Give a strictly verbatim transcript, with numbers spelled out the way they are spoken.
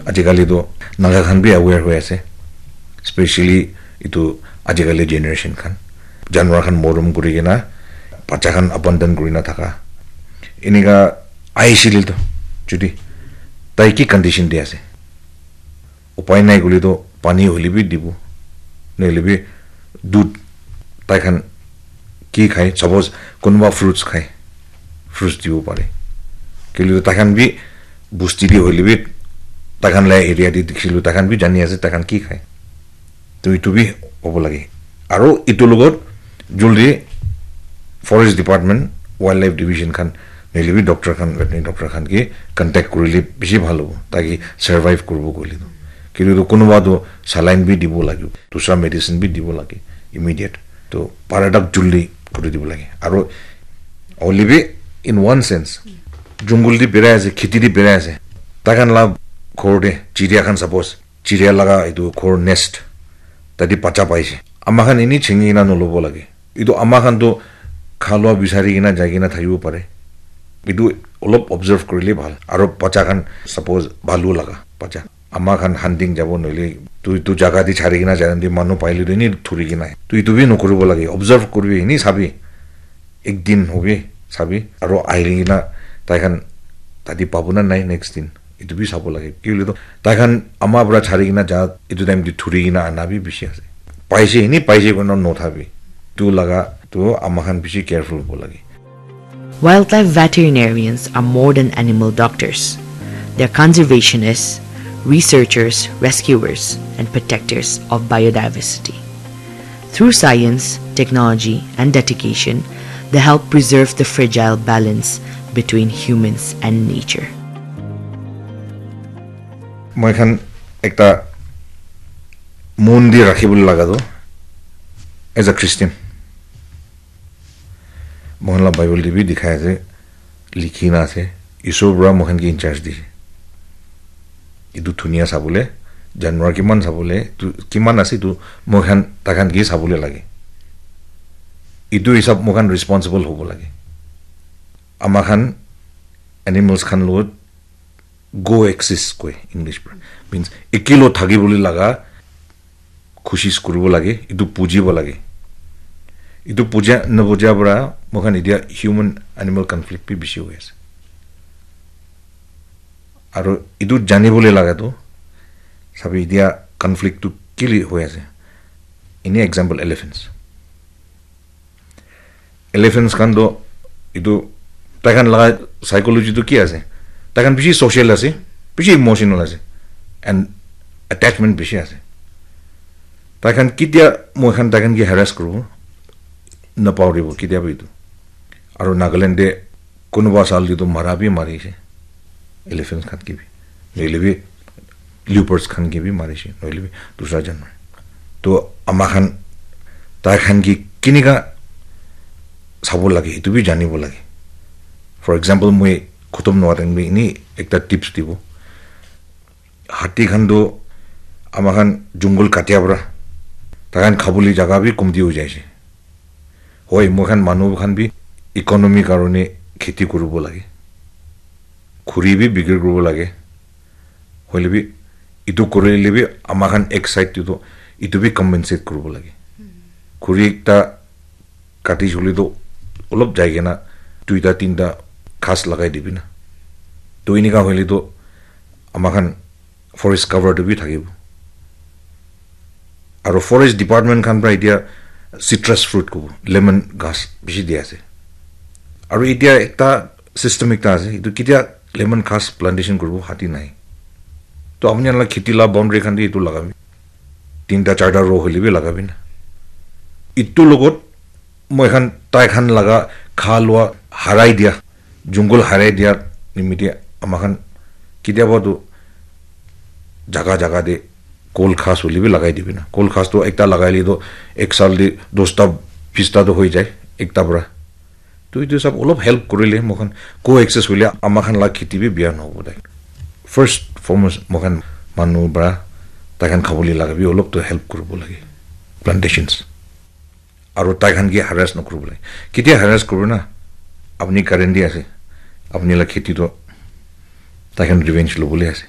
Ajikali tu Naga khan bi aware hoi ase, specially itu ajikali generation khan, janwar khan morom kuri kena bacha khan abandon kuri na thaka, enika aisile tu, jodi tai ki condition de ase, upai nai koile tu pani hoile bi dibo, nohoile bi dudh, tai khan ki khai, suppose kunuba fruits khai, fruits dibo pare. Kile tu tai khan bi busti de hoile bi, tai khan la area de dikhilu, tai khan bi jani ase tai khan ki khai. To itu bi hobo lage. Aro itu logot juldi forest department, wildlife division khan, nohoile bi doctor khan, veterinary doctor khan ke contact kurile bishi bhal hobo, taki survive kuribo koile tu. Kile tu kunuba tu saline bi dibo lagibo, dusra medicine bi dibo lage immediate. To paradak juldi kuri dibo lage. Aro hoile bi, in one sense, jungle di berai ase, kheti di berai ase, tai khan la ghor de chiria khan, suppose chiria laga itu ghor nest, tadi bacha paise. Ama khan ini chingi kena nolobo lage. Itu ama khan tu khalua bisari kena jai kena thakibo pare. Itu olop observe kurile bhal. Aro bacha khan, suppose bhalu laga bacha, ama khan hunting jabo nohoile tu, itu jaga di chari kena jai, manu paile tu ini thuri kena. Tu itu bi nokuribo lage. Observe kuribi, ini sabi. Ek din hobi, sabi. Aro ahili kena tai khan tadi pabo na nai next din. Itu bi sabo lage. Ki hoile tu tai khan ama para chari kena ja, itu time te thuri kena ana bi bishi ase. Paise, ini paise koina nothabi. Tu laga, tu ama khan bishi careful hobo lage. Wildlife veterinarians are more than animal doctors. They're conservationists, researchers, rescuers, and protectors of biodiversity. Through science, technology, and dedication, they help preserve the fragile balance between humans and nature. Moi khan ekta mon di rakhi bole laga tu, as a Christian, moi khan la Bible te bi dikhai ase, likhi na ase, Isor para moi khan ke in charge dise. Itu dunia sabole, janwar kiman sabole, tu kiman ase itu moi khan, tai khan ke sabole lage. Itu hisab moi khan responsible hobo lage. Ama khan animals khan logot coexist koi English para. Means, ekilo thaki bole laga khushis kuribo lage, itu bujibo lage. Itu buja, nabuja para moi khan etia human animal conflict bi bishi hoi ase. Aro itu jani bole laga tu, sabi etia conflict tu kile hoi ase. Ini example, elephants. Elephants khan toh, itu tai khan laga psychology tu ki ase? Tai khan bishi social ase, bishi emotional ase, and attachment bishi ase. Tai khan ketia moi khan tai khan ke harass kuribo, napahoribo ketia bi itu. Aro Nagaland te kunuba sal te tu mara bi marise, elephants khan ke bi, nohoile bi leopards khan ke bi marise, nohoile bi dusra janwar. To ama khan tai khan ke kinika sabo lage, itu bi janibo lage. For example, moi khotom nohoa time bi ini ekta tips dibo. Hati khan tu ama khan jungle katia para tai khan khabole jaga bi komti hoi jaise. Hoi, moi khan manu khan bi economy karone kheti kuribo lage, khuri bi bikri kuribo lage. Hoile bi itu kurile bi ama khan ek side te tu itu bi compensate kuribo lage. Khuri ekta kati jule tu olop jai kena duita tinta ghas lagai dibi na. To enika hoile tu ama khan forest cover tu bi thakibo. Aro forest department khan para etia citrus fruit kobo, lemon ghas bishi di ase. Aro etia ekta system ekta ase, itu ketia lemon ghas plantation kuribo hati nai. To apni khan la kheti la boundary khan te itu lagabi. Tinta charta row hoile bi lagabi na. Itu logot moi khan tai khan laga kha lua harai dia, jungle harai dia nimite ama khan ketia ba tu jaga jaga te kol ghas hoile bi lagai dibi na. Kol ghas tu ekta lagai le tu ek sal te dosta bista tu hoi jai ekta para. To itu sab olop help kurile moi khan co-access hoile ama khan la kheti bi bia nahobo tai. First foremost moi khan manu para tai khan khabole laga bi olop to help kuribo lage. Plantations. Aro tai khan ke harass nokuribo lage. Ketia harass kuribo na? Apni current di ase. Apni la kheti to tai khan revenge lobole ase.